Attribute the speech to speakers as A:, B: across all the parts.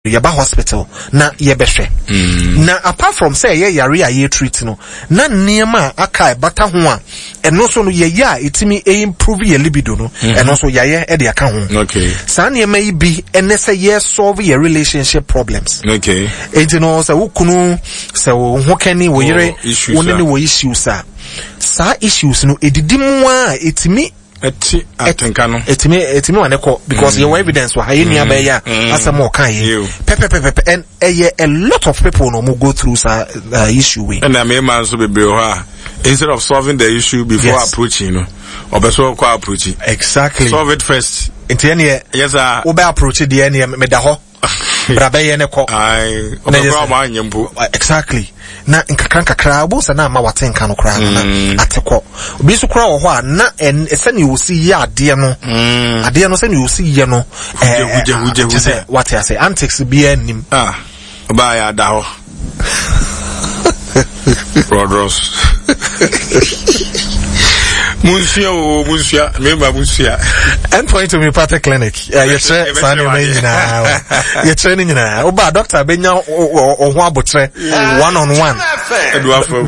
A: Yɛba hospital na yɛbɛhwɛ. Na apart from sɛ ɛyɛ yare a yɛ treat no, na nneɛma a aka a ɛbata ho a ɛno nso no yɛyɛ a ɛtumi improve yɛ libido no, ɛno nso yɛayɛ de aka ho. Saa nneɛma yi bi ɛne sɛ yɛ solve yɛ relationship problems. Enti no sɛ wo kunu, sɛ wo ho kani, wo yere, wo ne ne wɔ issues a, saa issues no ɛdidi mu a ɛtumi
B: Ɛte atenka no.
A: Ɛtumi ɛtumi ma ne kɔ because yɛwɔ evidence wɔ ha yɛn nua bɛyɛ a asɛm a ɔka yi pɛpɛpɛpɛ and ɛyɛ a lot of people na wɔn go through saa issue wei.
B: Ɛna mmarima nso bebree wɔ hɔ a instead of solving the issue before yes. approaching no ɔbɛ so ɔkɔ approach.
A: Exactly.
B: Solve it first.
A: Nti ɛneɛ.
B: Yes sir.
A: Wobɛ approach deɛ ɛneɛ meda hɔ. bra bɛyɛ ne kɔ.
B: ɔbɛkora ɔma anyɛ mpo.
A: Exactly. Na nkakra nkakra wobɛhu sɛ na ama wate nka no koraa no na mm. ate kɔ. Obi nso koraa wɔ hɔ a na sɛnea ɔsi yɛ adeɛ no mm. adeɛ no sɛnea ɔsi yɛ no kyɛ sɛ wate ase antics biara nnim.
B: Ah, ɔbaa yɛ ada hɔ. Rodros. Munsua o, munsua, mmarima munsua.
A: Endpoint Homeopathic Clinic, yɛkyerɛ saa nneɛma yi nyinaa. Yɛkyerɛ ne nyinaa. Woba doctor bɛnya ɔho abokyerɛ one on one.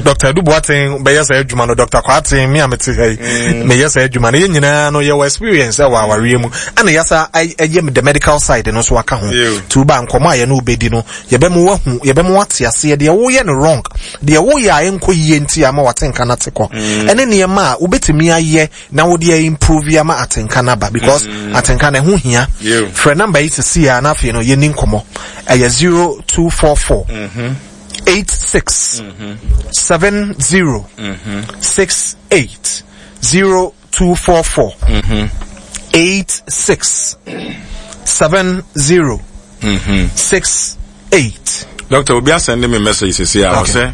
A: Doctor Adu Boateng bɛyɛ saa adwuma no, Doctor Kwarteng, me a mete ha yi, mm. meyɛ saa adwuma no. Yɛn nyinaa no yɛwɔ experience ɛwɔ awareɛ mu. Ɛna yɛasa ɛyɛ the medical side no nso aka ho. Nti woba nkɔmmɔ a yɛne wobɛdi no, Yɛbɛma woahu, yɛbɛma woate aseɛ deɛ woyɛ no wrong, deɛ woyɛ a ɛnkɔ yie nti ama w'atenka no ate kɔ, mm. ɛne nneɛma a wobɛtumi ayɛ na wode a improve ama atenka no aba because mm. atenka no ɛho hia. Frɛ namba yi sisi a na afei no yɛni nkɔmmɔ. Ɛyɛ 0244 mm-hmm. 86 mm-hmm. 70 68 0244 86 70 68.
B: Doctor, obi asɛnde me message sisi a ɔsɛ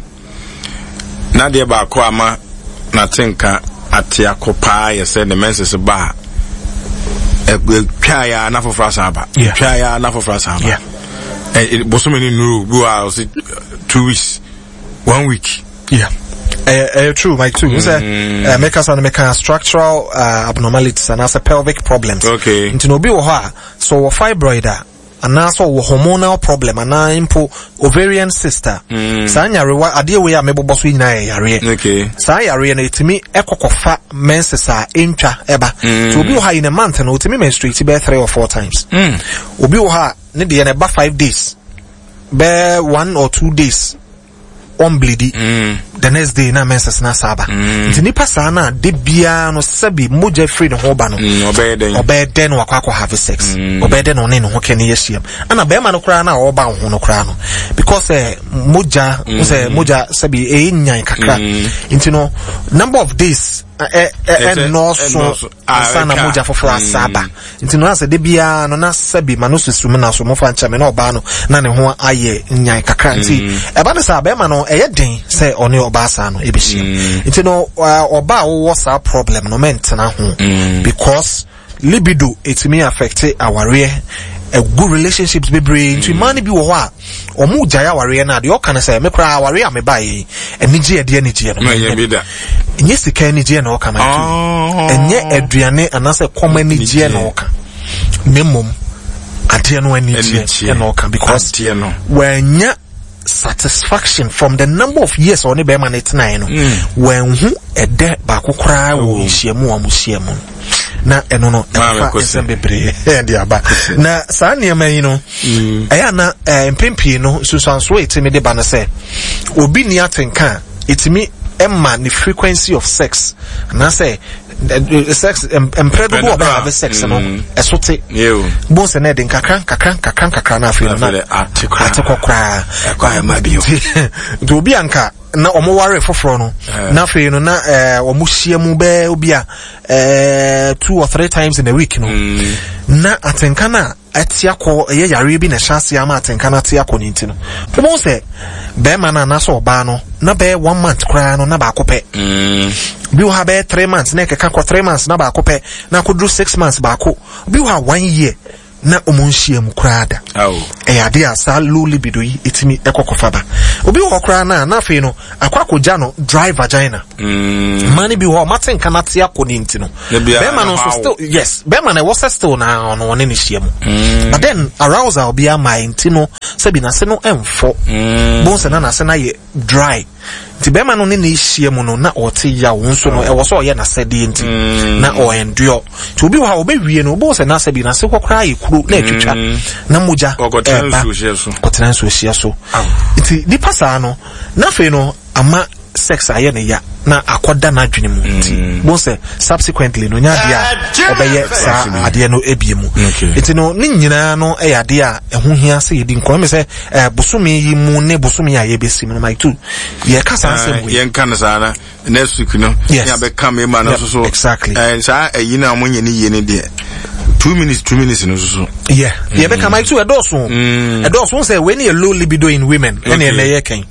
B: n'adeɛ baako ama n'ate nka ate akɔ paa yɛ sɛ ne menses ba a ɛtwa ya na foforɔ asan aba ɛtwa ya na foforɔ asan aba bosome ne nnuru bi wɔ a ɔsɛ 2 weeks, one week.
A: Yeah. Ɛyɛ true, Mike too. Sɛ mm. mekasa no meka structural abnormalities anaasɛ pelvic problems. Nti na obi wɔ hɔ a sɛ ɔwɔ fibroid a anaasɛ ɔwɔ hormonal problem anaa mpo ovarian cyst a saa nyarewa adeɛ wei a mebobɔ so nyinaa yɛ yareɛ. Saa yareɛ no ɛtumi ɛkɔkɔfa menses a ɛntwa ɛba. Nti obi wɔ hɔ a in a month no ɔtumi menstruate bɛyɛ three or four times. Obi wɔ hɔ a ne deɛ no ɛba 5 days, bɛɛ 1 or 2 days ɔmbleedi the next day na menses na saa ba. Nti nipa saa na de biara no sɛbi mogya firi ne ho ba no,
B: ɔbɛyɛ dɛn?
A: Ɔbɛyɛ dɛn na wakɔ akɔ have sex? Ɔbɛyɛ dɛn na ɔne ne ho kɛ ne yɛhyiam? Ɛna bɛrima no koraa na ɔba wo ho no koraa no, because sɛ mogya sɛ mogya sɛbi ɛyɛ nyan kakra nti no number of days ɛnnɔɔso ansa na mogya foforɔ asa aba. Nti no asɛ de biara no na sɛbi ma no susu mu na so mofa nkyɛn me na ɔbaa no na ne ho ayɛ nyan kakra nti ɛba no saa bɛrima no ɛyɛ den sɛ ɔne ɔbaa saa no ɛbɛhyia. Nti no ɔbaa a wowɔ saa problem no, mɛntena ho because libido ɛtumi affect awareɛ, ɛgu relationships bebree. Nti mmaa no bi wɔ hɔ a ɔmo gyae awareɛ no a, deɛ ɔka no sɛ me koraa awareɛ a mebaeɛ yi, anigye ɛde anigyeɛ no
B: Na ɛnyɛ bi da.
A: Ɛnyɛ sika anigyeɛ na ɔka ma
B: Oh.
A: ɛnyɛ aduane anaasɛ kɔm anigyeɛ na ɔka, na mmom adeɛ no anigyeɛ
B: Anigyeɛ.
A: ɛna ɔka because
B: Adeɛ no.
A: wanya satisfaction from the number of years a ɔne bɛrima no tenaeɛ no, wanhu ɛdɛ baako koraa wɔ nhyiamu a wɔn hyia mu no. Na ɛno no
B: Maame
A: ɛfa
B: Kwesi.
A: nsɛm bebree ɛde aba. Na saa nneɛma yi no ɛyɛ ana mpɛn pii no nsunsuansoɔ a ɛtumi de ba no sɛ obi ni atenka a ɛtumi ɛma ne frequency of sex anaasɛ sex mprɛ dodoɔ a ɔbɛ have sex no ɛso te. Bo sɛ na ɛde nkakra nkakra nkakra nkakra na afei no na
B: Afei de ate koraa.
A: Ate kɔ koraa.
B: Ɛkɔ ayɛ ma bio.
A: Nti obi anka na ɔmo ware foforɔ no na afei no na ɔmo hyia mu bɛɛ obi a two or three times in a week no na atenka no a ɛte akɔ, ɛyɛ yareɛ bi na ɛhyɛ aseɛ ama atenka no ate akɔ ne nti no wobɛhu sɛ bɛrima no anaasɛ ɔbaa no na bɛyɛ one month koraa no na baako pɛ bi wɔ ha, bɛyɛ 3 months na ɛkeka kɔ 3 months na baako pɛ, na akɔduru 6 months baako bi wɔ ha, one year. Na ɔmo nhyia mu koraa da. Ɛyɛ adeɛ a saa low libido yi ɛtumi ɛkɔ kɔfa ba. Obi wɔ hɔ koraa na na afei no akɔ akɔgya no dry vagina. Mm. Mmaa no bi wɔ hɔ ɔmo ate nka no ate akɔ ne nti no. Bɛrima no nso still yes bɛrima no ɛwɔ sɛ still na ɔno ɔne ne hyia mu. Mm. But then arousal bi ama nti no sɛbi n'ase no ɛmfɔ. Mm. Bonsa na n'ase no ayɛ dry nti bɛrima no ne ne hyia mu no na ɔte yaw nso no ɛwɔ sɛ ɔyɛ n'asɛdeɛ nti mm. na ɔɛnduɔ nti obi wɔ ha ɔbɛwie no ɔbɛwɔ sɛ n'asɛ bi n'ase hɔ koraa yɛ kuro na atwitwa mm. na mogya ɛba kɔtena nsuo hyia so nti nipa saa no n'afei no ama sex ayɛ ne ya na akɔda n'adwene mu nti mm. bon sɛ subsequently no nya adeɛ a ɔbɛyɛ saa adeɛ no ebie mu nti no ne nyinaa no yɛ adeɛ a ɛho hia sɛ yɛdi nkɔmɔ mi sɛ eh, bosome yi mu ne bosome a yɛbɛsi mu no my two yɛka saa asɛm wei
B: yɛnka no saa na next week no
A: yes.
B: ne abɛka mmarima no nso so
A: exactly
B: eh, saa ayi no a wɔnyɛ ne yie no deɛ 2 minutes 2 minutes no nso so
A: yeah mm. yɛbɛka my two ɛdɔɔso ɛdɔɔso sɛ wei ne yɛ low libido in women ɛne ɛnɛ yɛ kɛn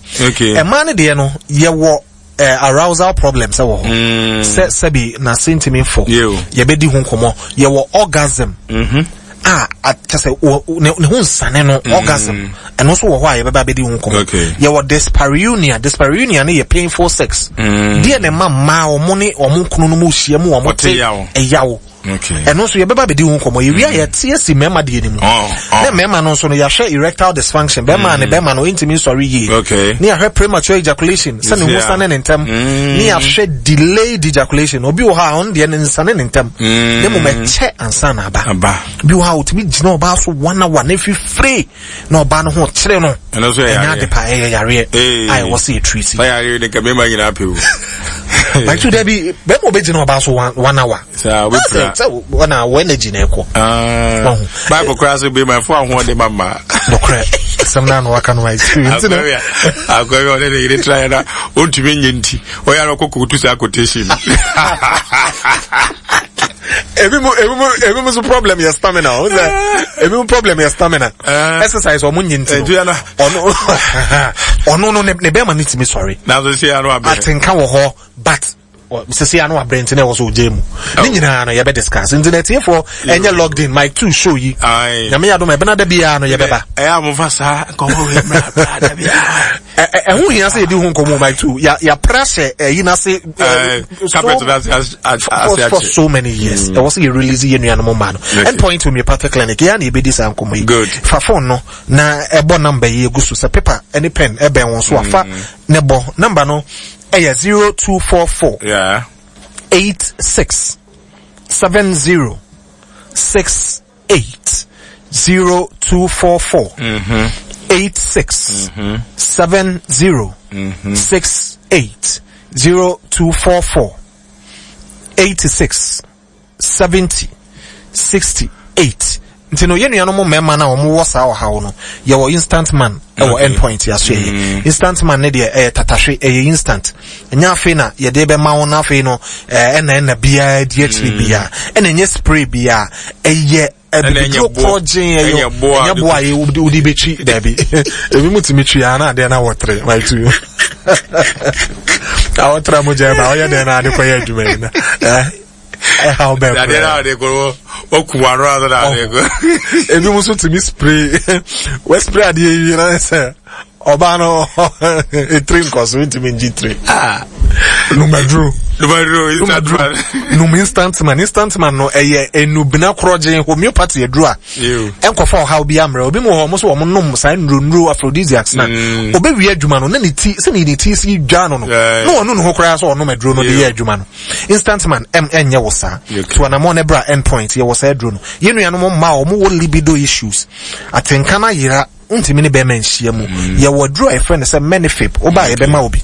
A: ɛmaa no deɛ no yɛwɔ uh, arousal problems ɛwɔ hɔ mm. sɛ sɛbi n'ase ntumi fɔ yɛbɛdi ho nkɔmɔ yɛwɔ orgasm mm -hmm. a kyɛ sɛ ne ho nsane no mm. orgasm ɛno nso wɔ hɔ a yɛbɛba abɛdi ho nkɔmɔ yɛwɔ dyspareunia. Dyspareunia no yɛ painful sex mm. Deɛ na ɛma mmaa wɔn ne wɔn kunu no mu hyia mu wɔn te ɛyaw. Ɛno nso yɛbɛba bɛdi ho nkɔmmɔ. Yɛwie a mm. yɛte asi mmarima deɛ no mu oh, oh. Na mmarima no nso no yɛahwɛ erectile dysfunction, bɛrima ne mm. bɛrima no ntumi nsɔre yie, ne yɛahwɛ premature ejaculation sɛ ne ho sane ne ntɛm, mm. ne yɛahwɛ delayed ejaculation. Obi wɔ hɔ a ɔno deɛ ne nsane ne ntɛm, ne mmom ɛkyɛ ansa na aba. Bi wɔ hɔ a ɔtumi gyina ɔbaa so one hour na ɛfifire na ɔbaa no ho kyerɛ no. Ɛnyɛ ade pa, ɛyɛ yareɛ a ɛwɔ sɛ yɛtiri si.
B: Yareɛ de nka bɛrima nyinaa pɛ
A: o. Bàtú dɛbi bɛrima obɛgyina ɔbaa so one hour.
B: Saa wobɛpira.
A: Sɛ wɔna wɔ energy na ɛkɔ.
B: Ah. Bible koraa sɛ bɛrima fo ahoɔden ma mmaa.
A: Nokorɛ asɛm no ano waka no ma experience no.
B: Akɔyɛ ɔne ne yere tra yɛ na ɔntumi nyɛ nti ɔyɛ ara ɔkɔ kɔtu saa quotation.
A: Ebi mu ebi mu ebi mu so problem yɛ stamina o sɛ ebi mu problem yɛ stamina. Eh. Exercise ɔmo nye nti no ɔno ɔno no ne bɛrima ne tumi sɔre.
B: Nanso se ano abɛ.
A: Atenka wɔ hɔ but sisi ano abrɛ nti na ɛwɔ so ogye mu ne nyinaa no yɛbɛ discuss nti na atiefoɔ ɛnyɛ locked in mic two show yi Nyame yɛ adom ɛbɛna da biara no yɛbɛba.
B: Ɛyɛ a mofa saa nkɔmmɔ wei mmra bra da biara.
A: Ɛho hia sɛ yɛdi ho nkɔmmɔ mic two yɛapra hyɛ ɛyi n'ase for so many years ɛwɔ sɛ yɛ release yɛ nuanom mmaa no. Endpoint Homeopathic Clinic yɛa na yɛbɛdi saa nkɔmmɔ yi. Fa phone no na ɛbɔ number yi egu so sɛ paper ɛne pen ɛbɛn wɔn so afa ne bɔ number no. Ɛyɛ 0244
B: yeah.
A: 86 70 68 0244 mm-hmm. 86 mm-hmm. 70 mm-hmm. 68 0244 86 70 68 nti no yɛn nuanom mmarima no a wɔwɔ saa ɔhaw no, yɛwɔ instant man ɛwɔ okay. Endpoint yɛaso yɛ mm. Instant man ne deɛ ɛyɛ tatahwe, ɛyɛ instant, ɛnyɛ afei na yɛde bɛma wo no afei no ɛna ɛna biara di akyiri mm. biara ɛna ɛnyɛ spray biara, ɛyɛ ɛbibiduro korɔgyen, ɛyɛ ɛnyɛ boa a wode bɛtwi daabi. Ebi mu tumi twi a na adeɛ no awɔtere my two awɔtere a mogya ɛba ɔyɛ dɛn na ade kɔyɛ adwuma yi na ɛhaw bɛɛ
B: koraa. Adeɛ na ade kɔ ɔku wano ase na ade kɔ.
A: Ebi mu nso tumi spray wɔ spray adeɛ yi na sɛ ɔbaa no etiri nkɔ so ntumi ngye tiri.
B: Ah.
A: Numaduro.
B: Numaduro instant man.
A: Num instant man. Instant man no ɛyɛ enubena korɔgyen homeopathy aduro a. Ɛnkɔfa ɔhaw bi amrɛ. Obi mu wɔ hɔ ɔmo so wɔn nom saa nnuro nnuro aphrodisiacs na. Obewie adwuma no na ne ti sɛ ne ti si dwa no no. Na ɔno ne ho koraa sɛ ɔnom aduro no de yɛ adwuma no. Instant man ɛm ɛnyɛ wo saa. To anamɔ ne bra end point yɛwɔ saa aduro no. Yɛn nuanom mmaa a wɔn wɔ libido issues, atenka no ayera, wontumi ne bɛrima nhyia mu. Mm. Yɛwɔ aduro a yɛfrɛ no sɛ Menifip, woba a yɛbɛma wo bi.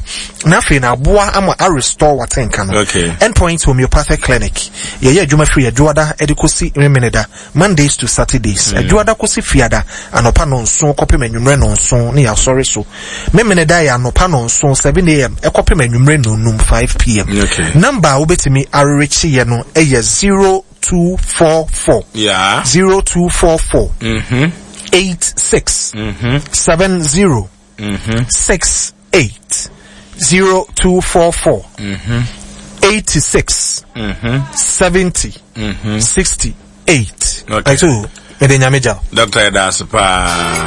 A: Na afei na aboa ama a restore w'atenka no.
B: Okay.
A: End Point Homeopathic Clinic. Yɛyɛ adwuma firi Adwoada de kɔsi Memeneda, Mondays to Saturdays. Mm. Adwoada kɔsi Fiada, anɔpa nɔnson kɔpem anwummerɛ nɔnson ne yɛasɔre so. Memeneda yɛ anɔpa nɔnson, 7 a.m., ɛkɔpem anwummerɛ nɔnum, 5 p.m.
B: Okay.
A: Number a wobɛtumi arerekye yɛ no yɛ 0244 0244 86 70 68 0244 86 70 68.
B: Okay.
A: So, Mede Nyame gya wo.
B: Doctor yɛda ase paa.